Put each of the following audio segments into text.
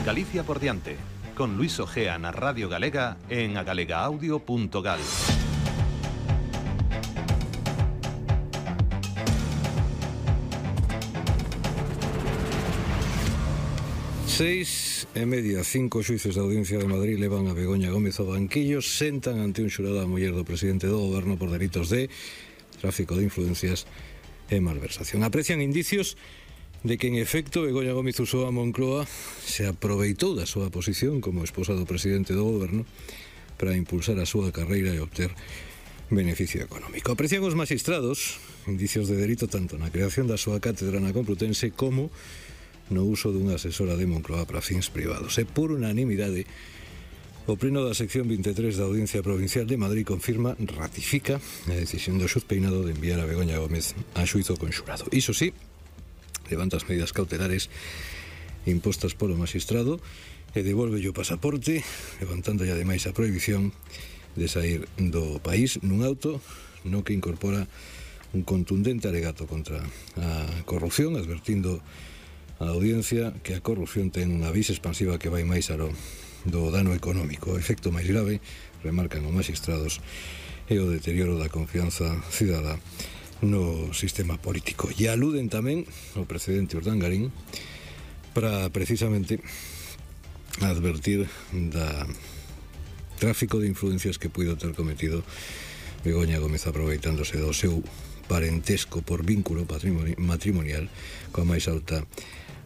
Galicia por diante, con Luis Ojea na Radio Galega en agalegaaudio.gal. Seis e media, 5 xuíces da Audiencia de Madrid levan a Begoña Gómez ao banquillo, sentan ante un xurado a muller do presidente do goberno por delitos de tráfico de influencias e malversación. Aprecian indicios de que en efecto Begoña Gómez usou a Moncloa, se aproveitou da súa posición como esposa do presidente do goberno para impulsar a súa carreira e obter beneficio económico. Aprecian os magistrados indicios de delito tanto na creación da súa cátedra na Complutense como no uso dunha asesora de Moncloa para fins privados. E por unanimidade, o pleno da sección 23 da Audiencia Provincial de Madrid ratifica a decisión do xuez Peinado de enviar a Begoña Gómez a xuízo conxurado. Iso sí, levanta as medidas cautelares impostas polo magistrado e devolve o pasaporte, levantando ademais a prohibición de sair do país nun auto no que incorpora un contundente alegato contra a corrupción, advertindo a audiencia que a corrupción ten unha vis expansiva que vai máis alo do dano económico. O efecto máis grave, remarcan os magistrados, é o deterioro da confianza cidadá no sistema político. E aluden tamén ao precedente Urdangarín para precisamente advertir da tráfico de influencias que puido ter cometido Begoña Gómez aproveitándose do seu parentesco por vínculo matrimonial coa máis alta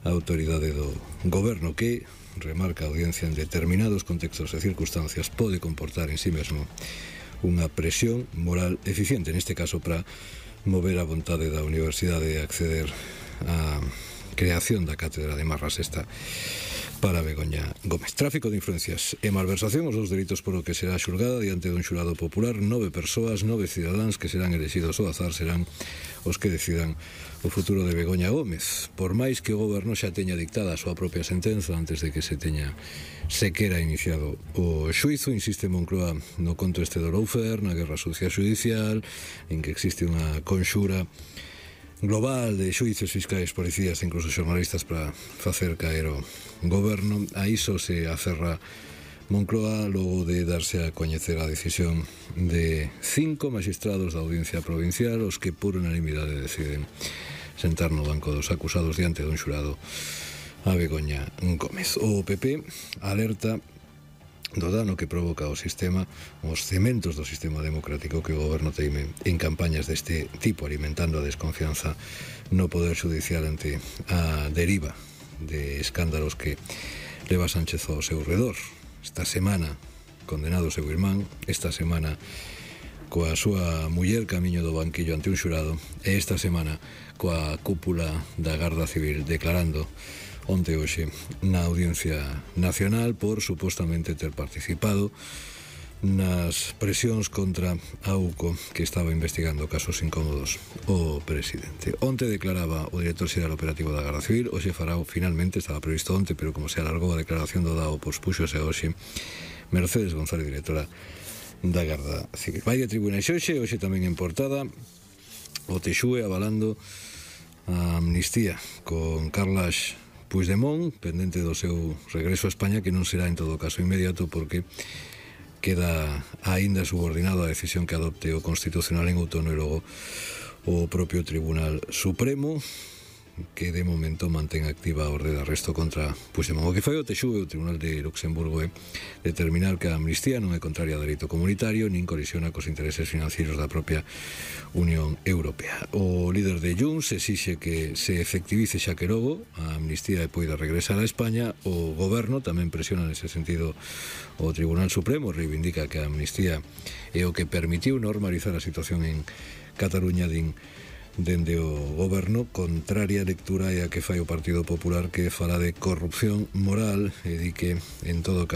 autoridade do goberno que, remarca a audiencia, en determinados contextos e circunstancias pode comportar en sí mesmo unha presión moral eficiente, neste caso para mover a vontade da universidade de acceder á creación da cátedra de Marra Sexta para Begoña Gómez. Tráfico de influencias e malversación, os dous delitos polo que será xulgada diante dun xurado popular. 9 persoas, 9 cidadáns que serán elexidos ao azar serán os que decidan o futuro de Begoña Gómez. Por máis que o goberno xa teña dictada a súa propia sentenza antes de que se teña sequera iniciado o xuízo, insiste Moncloa no conto este do lawfare, na guerra sucia judicial, en que existe unha conxura global de xuíces, fiscais, policías e incluso xornalistas para facer caer o goberno. A iso se aferra Moncloa logo de darse a coñecer a decisión de 5 magistrados da Audiencia Provincial, os que por unanimidade deciden sentar no banco dos acusados diante dun xurado a Begoña Gómez. O PP alerta do dano que provoca o sistema, os cementos do sistema democrático que o goberno teime en campañas deste tipo, alimentando a desconfianza no poder judicial ante a deriva de escándalos que leva Sánchez ao seu redor. Esta semana condenado o seu irmán, esta semana coa súa muller camiño do banquillo ante un xurado e esta semana coa cúpula da Garda Civil declarando onte hoxe na Audiencia Nacional por supostamente ter participado nas presións contra a UCO que estaba investigando casos incómodos o presidente. Onte declaraba o director xeral operativo da Garda Civil, hoxe fará finalmente, estaba previsto onte, pero como se alargou a declaración do DAO, pospuxose hoxe Mercedes González, directora da Garda Civil. Vai de tribunais hoxe tamén en portada o TXUE avalando a amnistía con Carles Puigdemont, pendente do seu regreso a España, que non será en todo caso inmediato porque queda aínda subordinado á decisión que adopte o Constitucional en outono e logo o propio Tribunal Supremo, que de momento mantén activa a orde de arresto contra Puigdemont. O que fai o TXUE, o Tribunal de Luxemburgo, é determinar que a amnistía non é contraria a dereito comunitario nin colisiona cos intereses financeiros da propia Unión Europea. O líder de Junts exixe que se efectivice xa que logo a amnistía e poida regresar a España. O goberno tamén presiona nese sentido o Tribunal Supremo, reivindica que a amnistía é o que permitiu normalizar a situación en Cataluña, dende o goberno. Contraria lectura é a que fai o Partido Popular, que fala de corrupción moral e di que en todo caso